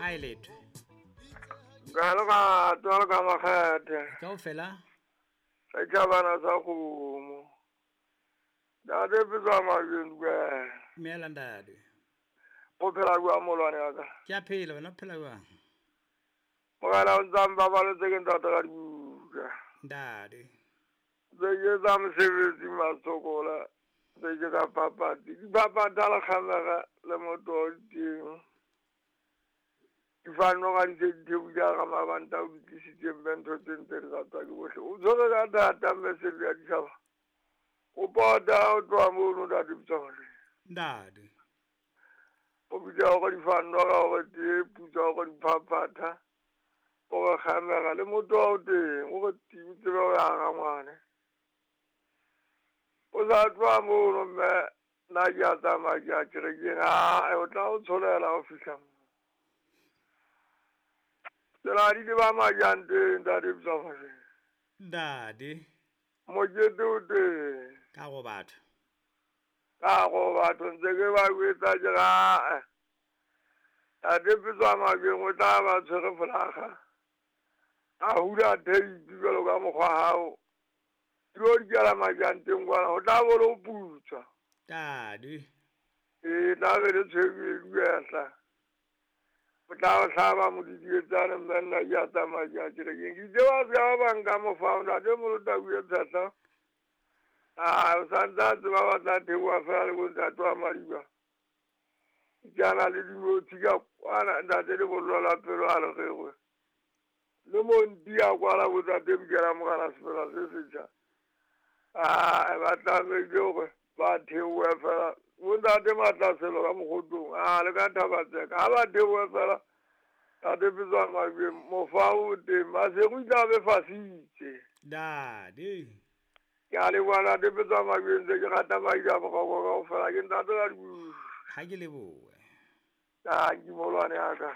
Ga e letho. Ka le ka tswa ka makgethe. Kaofela. Setjhabana sa kgomo. Ntate Petswa Mabeng dumela. Dumela ntate. O phela jwang molwane wa ka? Ke a phela, wena o phela jwang? Morena o ntsa mpabaletse ke ntate ka dibuka. Ntate. Tse ke tsa mosebetsi masokola, tse ke ka papadi. Dipapadi ha le kgamega le motho o teng. Difano ga di se di theohile ga mabanta o di tlisitseng be ntho tse ntse di ratwa ke bohle. O tshwere ka thata mme Sello ya ditjhaba. O pota o tloha mono ntate Petswa Mabeng. Ntate. O bitsa hore difano ga hore tee putsa hore diphaphatha. O re kgamega le motho wa o teng, o re ting tsebe ho ya ga ngwane. O sa tloha mono mme nna ke a tsamaya ke ya kerekeng, ae o tla o tsholela o fihla mo. Tsela di le ba majang teng ntate Petswa Mabeng. Ntate. Mokete o teng. Ka go batho. Ka go batho ntse ke ba jwetsa ke re ae. Ntate Petswa Mabeng o tla ba tshwere folaga. A hula tape jwalo ka mokgwa hao. Dilo di kela majang teng kwana, ho tla bo le ho putswa. Ntate. Ee, tla be le tshwere e duehla. O tla o hlaba modidietsane mme nna ke a tsamaya ke ya kerekeng. Ke itse ba se ka ba ba nka mofao, ntate Molota o ile tshehla. Aa, o santse a tseba ba tla theoha fela le bontate wa Madiba. Ke ana le dinotshi ka kwana, ntate le bollo la pelo a le rerwe. Le monti a kwala bontate Mokela Mogala semela se setjha. Aa, ba tlamehile hore ba theohe fela. Bontate Matlaselo ka mokgotong, a le ka Thabatseka. Ha ba theohe fela, ntate Petswa Mabeng, mofao o teng, Maseru o tla be fasitse. Ntate. Ke a leboha ntate Petswa Mabeng, ntse ke rata madi a boroko kaofela, ke ntate ka dibuka. Ha ke lebohe. Ah, ke molwane ya ka.